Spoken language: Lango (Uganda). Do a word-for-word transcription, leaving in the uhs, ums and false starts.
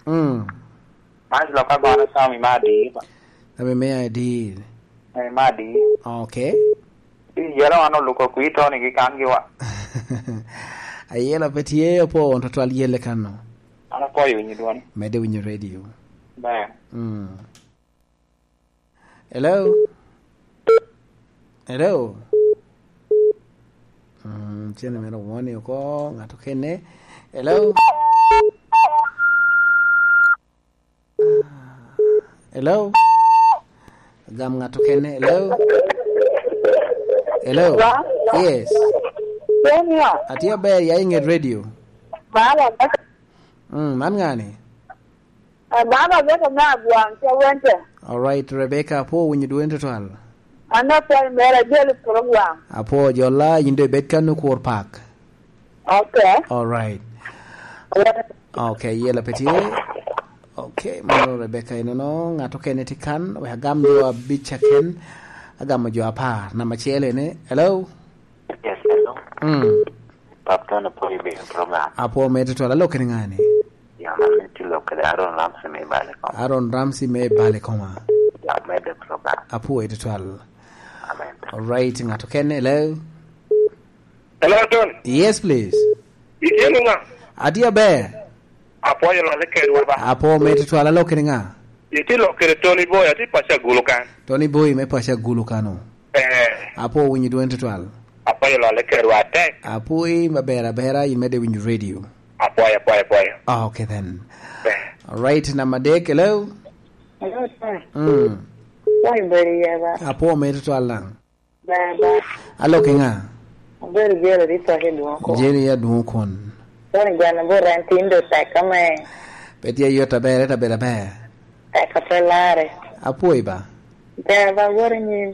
Mm. Man lok agono Sami me adii ba. Sami me adii. Eh, me adii. Okay. Iyero an oluko kwi Tony gi kan gi wa. Ayela pe tye opo on twatwal yelle kanno. An apwoyo winyo dwoni. Mede winyo radio. Ber. Mm. Hello? Hello? Mm, cene mere woni oko, ng'ato kene. Hello? Ah, hello? Gam ng'ato kene. Hello? Hello? Hello? Yes. Junior. Atye aber, ya i nget radio. Baba, Mm, man ŋa ni? Eh, man Rebecca me Agwaŋ, ca Wente. All right, Rebecca, apwo winyo dwoni tutwal. An apwoyo mere, ajolo i program. Apwo jolla, yin doŋ ibed kan okur pak. Okay. All right. Well, Okay, yela pe tye. Okay, mano Rebecca inono, ŋat okene tye kan, wek agam jo abic aken, agamo jo apar. Namba acel ene, hello? Yes, hello. Mm. Pap Tony, apwoyo i bedo program. Apwo me tutwal, alok kede ŋa ni? Ya, man ni tye lok kede Aaron Ramsey me Bale Koma. Aaron Ramsey me Bale Koma. Ya, me the program. Apwo i tutwal. Amen. All right, ng'ato kene, hello? Hello, Tony. Yes, please. Itye nung'a? Atye aber. Apwoyo lwale kedwa ba. Apwo me tutwal, alok kede ŋa? Itye lok kede Tony Boy, atye paco Agulu kan. Tony Boy me paco Agulu kano. Eh. Apwo winyo dwoni tutwal. Apwoyo lwale kedwa atek. Apwoyi maber abera, in mede winyo radio. Apwoyo, apwoyo, apwoyo. Ah, okay then. Eh. All right, namba adek, hello? Hello, sir. Mm. Wai beri yaba. Apwo me tutwal lang. Baba. Alok i ŋa? Abedo Jerry Ritho ki Dwoko. Jerry ya Dwoko kon. Tony Gweno Bura en tin do tek ame. Pe tye yot aber, ete abedo aber. Tek ape lare. Apwoyi ba. Baba, wot i nyim.